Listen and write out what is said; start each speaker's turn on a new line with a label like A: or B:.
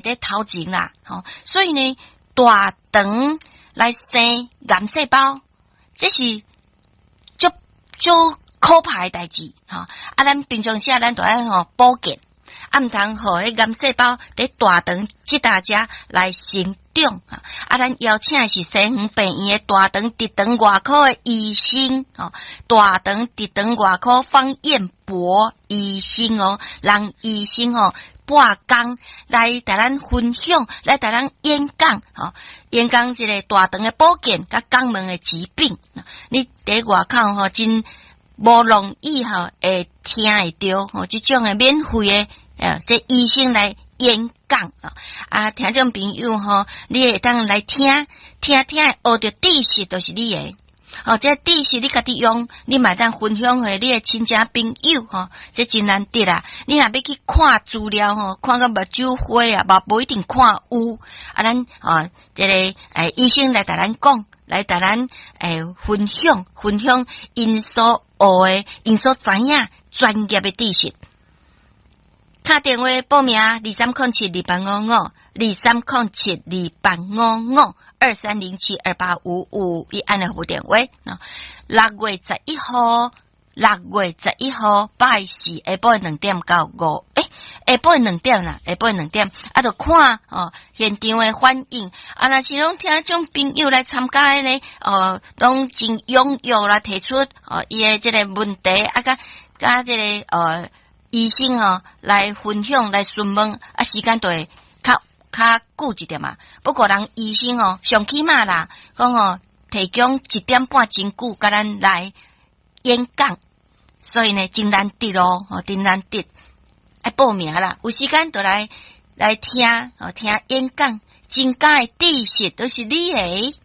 A: 佇頭前啦，吼，所以呢，大腸來生癌細胞，這是足足可怕的代誌，吼。啊，咱平常時啊，咱著愛吼保健，啊，毋通予彼癌細胞佇大腸這搭遮來生長。啊，咱邀請的是西園病院的大腸直腸外科的醫生，吼，大腸直腸外科方彥博醫生哦，讓醫生吼半工來共咱分享，來共咱演講，吼，演講這个大腸的保健佮肛門的疾病。你佇外口吼真無容易吼會聽會著吼，這種的免費的，這醫生來演講啊，聽眾朋友吼，你會當來聽，聽聽學著知識，就是你的。哦，這知識你家己用，你嘛會當分享予你的親戚朋友吼，這真難得啦。你若欲去看資料吼，看甲目睭花啊，嘛無一定看有。啊，咱哦，這个醫生來共咱講，來共咱分享分享𪜶所學的、𪜶所知影專業的知識。敲電話報名23072855，23072855，23072855，伊按的服務電話。6月11號，6月11號拜四下晡2點到5，欸，下晡兩點啦，下晡兩點，啊，著看哦現場的反應。啊，若是攏聽眾朋友來參加的呢，哦，攏真踴躍啦，提出哦伊的這个問題，啊，佮佮這个醫生哦來分享來詢問，啊，時間就會較較久一點嘛。不過人醫生哦，上起碼啦，講哦提供1點半真久，共咱來演講，所以呢真難得哦，哦真難得，愛報名啦，有時間就來來聽哦，聽演講，增加的知識都是你的。